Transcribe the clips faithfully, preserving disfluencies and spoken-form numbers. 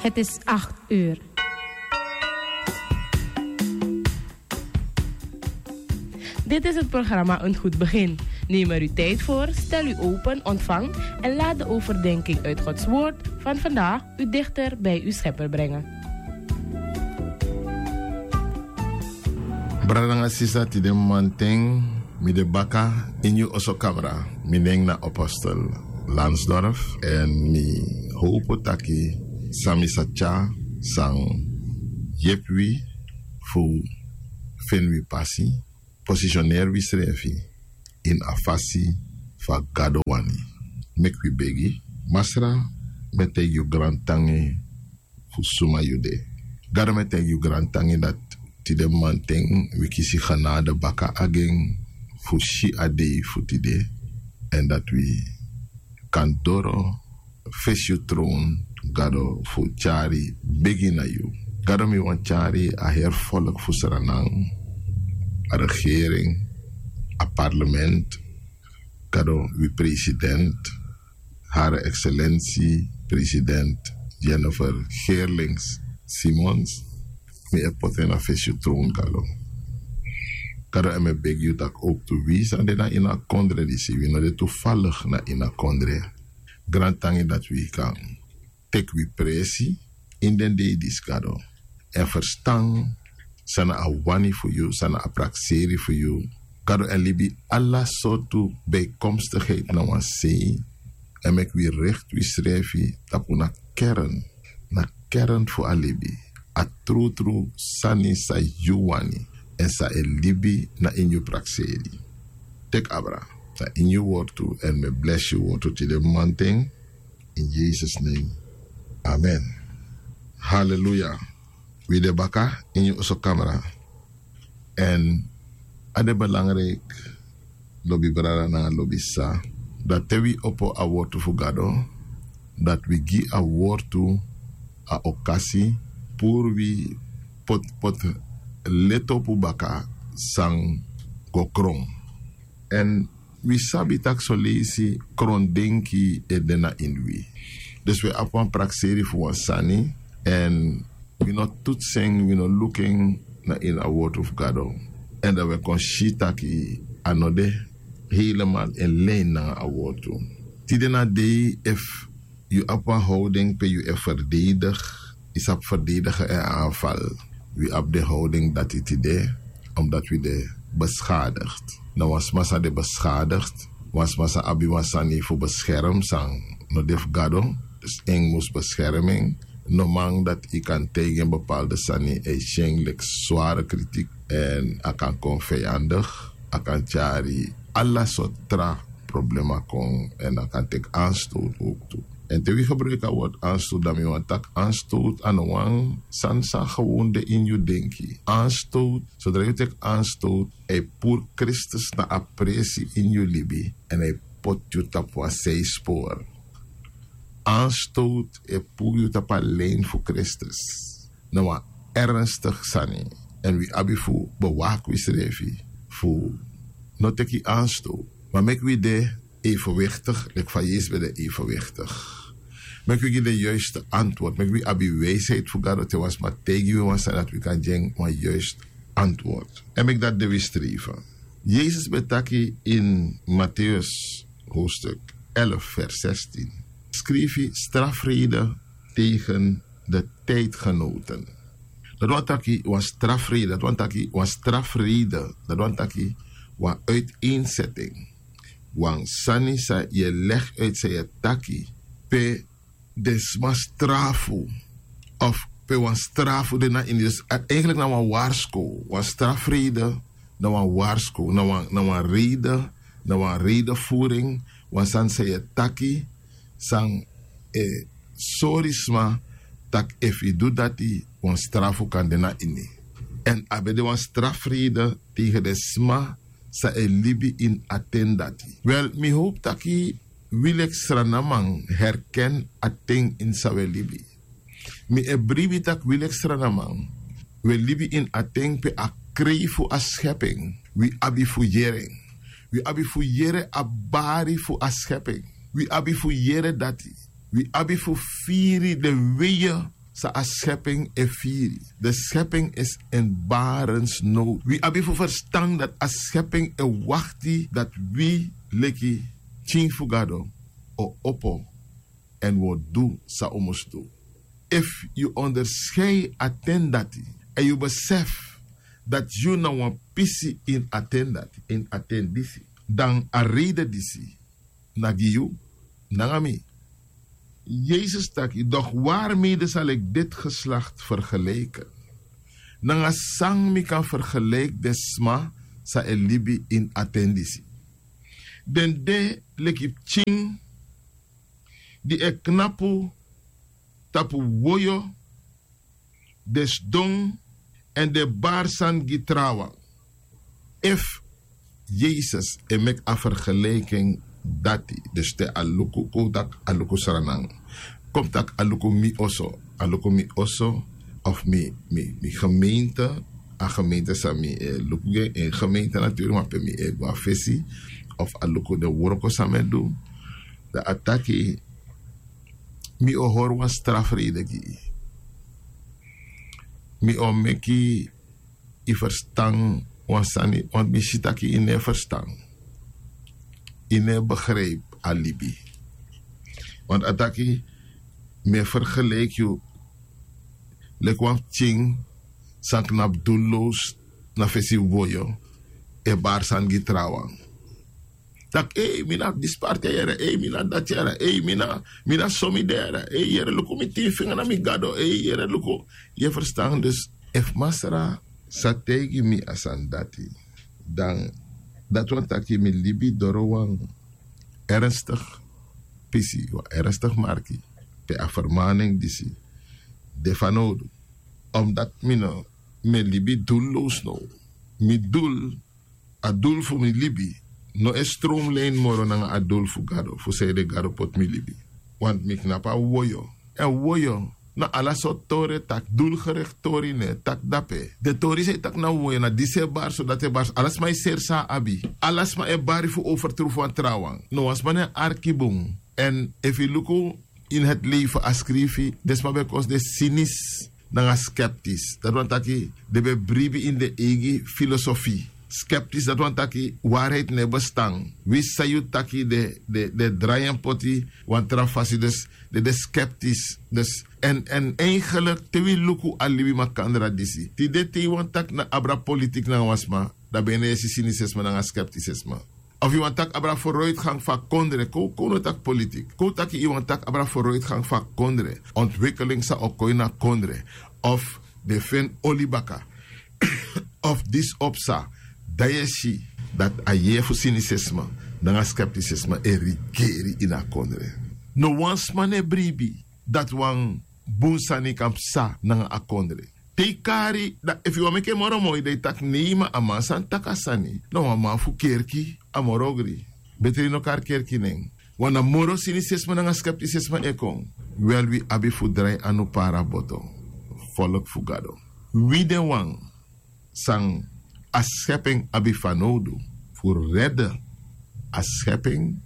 Het is acht uur. Dit is het programma Een Goed Begin. Neem er uw tijd voor, stel u open, ontvang en laat de overdenking uit Gods Woord van vandaag u dichter bij uw Schepper brengen. Brada nanga sisa, tide mamanten mi de baka ini yu oso kamra. Mi nen na apostel Lansdorf, èn mi howpu taki san mi sa tyari san yepi wi fu feni wi pasi, posisioneri wisrefi ini a fasi fa Gado wani. Meki wi begi. Masra, mi e taigi yu grantangi fu suma yu de. Gado, mi e taigi yu grantangi dati tide mamanten wi kisi genade baka agen fu si a dei fu tide, èn dati wi kan doro fesi yu tron, Gado, fu tyari begi na yu. Gado, mi wani tyari a heri folku fu Sranan, a regering, a parlement, Gado, wi president, Hare Excellentie President Jennifer Geerlings Simons, mi e poti en na fesi yu tron, Gado. Gado, èn mi e begi yu taki owktu wi san de na ini a kondre disi, wi no de toevallig na ini a kondre. Grantangi dati wi kan teki wi presi ini den dei disi, Gado, èn ferstan san na a wani fu yu, san na a prakseri fu yu, Gado, èn libi ala sortu bijkomstigheid na wan sei, èn meki wi rekti wisrefi tapu na kern, na kern fu a libi, a trutru sani san yu wani èn san e libi na ini yu prakseri. Teki abra na ini yu wortu, èn mi e blesi yu wortu tide mamanten. In Jesus' name. Amen. Hallelujah. Wi de baka ini yu oso kamra. Èn a de belangrijk, lobi brada nanga lobi sisa, dati te wi opo a wortu fu Gado, dati wi gi a wortu a okasi puru wi poti, poti leti opu baka san go kron. Èn wi sabi taki soleisi krondenki e de na ini wi. Dus wi abi wan prakseri fu wan sani, èn wi no tutsi en, wi no luku en na ini a wortu fu Gado. Èn dan wi e kon si taki a no de helemaal in lijn nanga a wortu. Tide na dei, efu yu abi wan houding pe yu e verdedig, yu sabi verdedigen en aanval. Wi abi den houding dati tide, omdat wi de beschadigd. Na wan sma san de beschadigd, wan sma san abi wan sani fu bescherm san no de fu Gado, dus en mus bescherm en. No man dati yu kan taigi en bepaalde sani, a e si en leki sware kritiek, èn a kan kon vijandig, a kan tyari ala sortu tra problema kon, èn a kan teki aanstoot owktu. Èn te wi gebruiki a word aanstoot, dan mi wani taki aanstoot a no wan sani san gewoon de ini yu denki. Aanstoot, sodra yu teki aanstoot, a e puru Kristus na a presi ini yu libi, èn a e poti yu tapu wan sispor. Aanstoot e puru yu tapu a lijn fu Kristus. Na wan ernstig sani. Èn wi abi fu bewaki wisrefi fu no teki aanstoot. Ma meki wi de evenwichtig, leki fa Yesus ben de evenwichtig. Meki wi gi den juiste antwoord. Meki wi abi wijsheid fu Gado, te wan sma taigi wi wan sani, dati wi kan gi en wan juiste antwoord. Èn meki dati de wi streven. Yesus ben taki ini Matthäus hoofdstuk elf vers zestien. Skrifi: strafrede tegen de tijdgenoten. Dati wani taki wan strafrede, dati wani taki wan strafrede, dati wani taki wan uiteenzetting. Wan sani san yu e leg uit, san yu e taki, pe den sma strafu, of pe wan strafu de na ini. Dus a, eigenlijk na wan warskow, wan strafrede, na wan warskow, na wan, na wan rede, na wan redevoering, wan sani san yu e taki, san e sori sma taki efu yu du dati, wan strafu kan de na ini. Èn a ben de wan strafrede tegen den sma san e libi ini a ten dati. Wel, mi howpu taki wi leki Srananman herken a ten ini san wi e libi. Mi e bribi taki wi leki Srananman, wi e libi ini a ten pe a krei fu a schepping, wi abi fu yere en. Wi abi fu yere a bari fu a schepping. Wi abi fu yere dati. Wi abi fu firi den weien san a skeping e firi. De skeping is in barensnow. Wi abi fu ferstan dati a skeping e wakti dati wi leki pikin fu gado o opo èn wi o du san un mus du. Efu yu onderskei a ten dati èn yu besefi dati yu na wan pisi ini a ten dati ini a ten disi, dan a reide disi na gi yu nanga mi. Yesus taki, doch waarmede zal ik dit geslacht vergelijken? Nanga san mi kan fergelijk den sma san e libi ini a ten disi? Den de leki pikin di e knapu tapu woyo, den sidon èn den bari sani gi trawan. Efu yesus e meki a fergeliking dati, dus te a luku kon taki a luku sranan, kon taki a luku mi oso, a luku mi oso of mi mi gemeente, a gemeente san mi e luku gi en gemeente natuurlik ma pe mi e go na fesi of a luku den wroko san mi e du, dan a taki mi o hori wan strafrede gi yu. Mi o meki yu ferstan wan sani want mi si tak' yu no e ferstan. Yu no e begripi a libi. Want a taki mi e fergeleiki yu leki wan pikin san knapu dullows na fesi woyo e bari sani gi trawan. Tak' ei mi na disi parti a yere ei mi na dati yere ei mi na mi na so mi de yere ei yere luku mi tin finga na mi gado ei yere luku. Yu e ferstan dus efu masra sa taigi mi a sani dati, dan dati wani taki mi libi doro wan ernstig pisi wan ernstig marki pe a fermaning disi de fanowdu. Omdati mi no mi e libi dullows now. Mi dul a dul fu mi libi no e stromlein moro nanga a dul fu gado fu sanede gado poti mi libi. Want mi knapu a woyo èn woyo na ala sortu tori e taki dulgerekti tori no e taki dape. Den tori san e taki na woyo na disi e bari so dati e bari so ala sma e seri san a abi. Ala sma e bari fu overtru fu wan trawan no wan sma no e arki bun. Èn efu yu luku ini heti leifi a skrifi den sma ben kosi den sinis nanga skeptis dati wani taki den ben bribi ini den eigi filosofi. Skeptis dati wani taki wariheiti no e bestan. Winsi san yu taki den den drai en poti wan tra fasi dus den de skeptis dus. Èn èn eigenlik te wi luku a libi makandra disi tide te yu wani taki na abra politik nanga wan sma dan ben yu no e si sinisisme nanga skeptisisme. Of yu wani taki abra foruitgang fu a kondre kon wi kon wi no taki politik kon wi taki yu wani taki abra foruitgang fu a kondre ontwikeling san o kon ini a kondre of den feni oli baka of disi o psa dan yu e si dati a yeye fu sinisisme nanga skeptisisme e rigeri ini a kondre. No wan sma no e bribi dati wan bun sani kan psa nanga a kondre. Te yu kari dan efu yu wani meki en moro moi dan yu taki nei ma a man sani taki a sani na wan man fu kerki a moro ogri. Betri no kari kerki nen wan na moro sinisisme nanga skeptisisme e kon. Wel wi abi fu drai anu para boto. Folk fu gado wi den wan san a skeping abi fanowdu fu rede a skeping.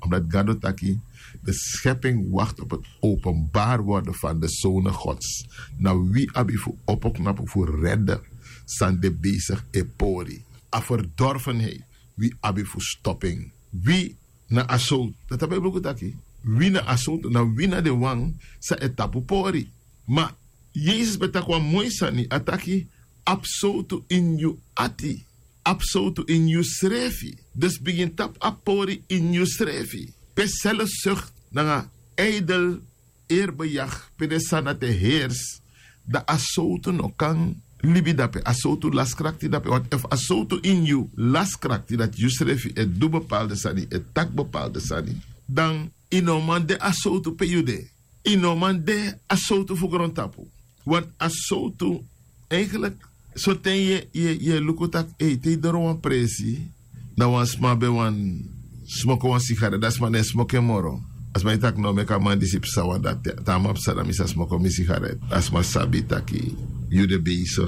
Omdati gado taki de skeping wakti op heti openbari worden fan de sone gods. Na wi abi fu opo knapu fu rede san de besigi e pori a ferdorfenheit. Wi abi fu stoping wi na a sowtu dati a ben bruku taki wi na a sowtu na wi na den wan san e tapu pori. Ma yesus ben taki wan moi sani a taki abi sowtu ini yu ati. Abi sowtu ini yusrefi dus bigin tapu a pori ini yusrefi. Pe selfsukt nanga eidel erbejag pe den sani dati e hersi dan a sowtu no kan libi dape a sowtu laskrakti dape want efu a sowtu ini yu laskrakti dati yusrefi e du bepalde sani e taki bepalde sani dan yu no man de a sowtu pe yu de. Yu no man de a sowtu fu grontapu. Want a sowtu eigenlik soten yu e luku tak' ei te yu doro wan presi dan wan sma ben wani smoko wan sigaret dan a sma no e smoko en moro. A sma e taki no meki a man disi psa wan dati te a man psa dan mi sa smoko mi sigaret a sma sabi taki yu de besigi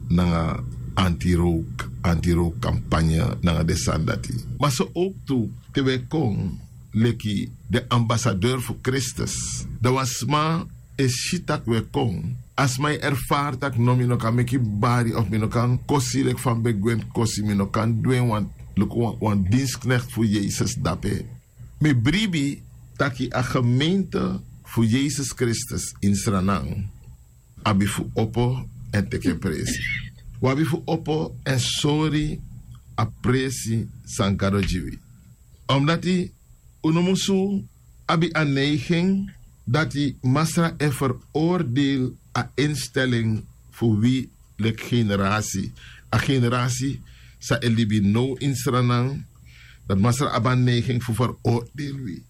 nanga antirowk antirowk kampanye nanga den sani dati. Ma so owk tu te wi e kon leki den ambasadeur fu kristus dan wan sma e si tak' un e kon, a sma e erfari tak' no mi no kan meki bari of mi no kan kosi leki fa mi ben gwe mus kosi mi no kan du en wan, luku wan dinsknekti fu yesus dape. Mi bribi tak' a gemeente fu yesus kristus ini sranan abi fu opo èn teki en presi. Un abi fu opo èn sori a presi san gado gi wi. Omdati un no musu abi a neigin dati masra e ferordeili a instelingi fu wi leki generasi, a generasi san e libi now ini sranan, dati masra abi a neigin fu ferordeili wi.